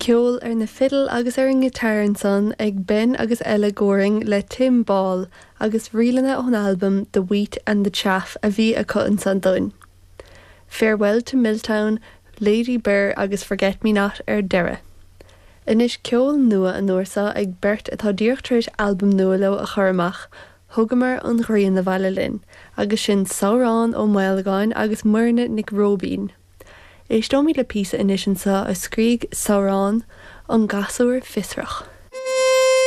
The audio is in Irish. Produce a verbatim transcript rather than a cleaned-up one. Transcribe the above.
Ceol ar na fidil agus ar an ngiotár ansan ag Ben agus Ella Goring le Tim Ball agus ríleanna ón albam The Wheat and the Chaff a bhí acu ansan dúinn. Farewell to Milltown, Lady Birr agus Forget Me Not ar deireadh. Anois ceol nua an uair seo ag beirt atá díreach tar éis albam nua leo a chur amach, Thugamar an ghrian abhaile linn, agus sin Samhrán Ó Maolagáin agus Muirne Nic Róibín. Éisteoimid le píosa anois anseo a scrígh Samhrán an Gasúr Fiosrach.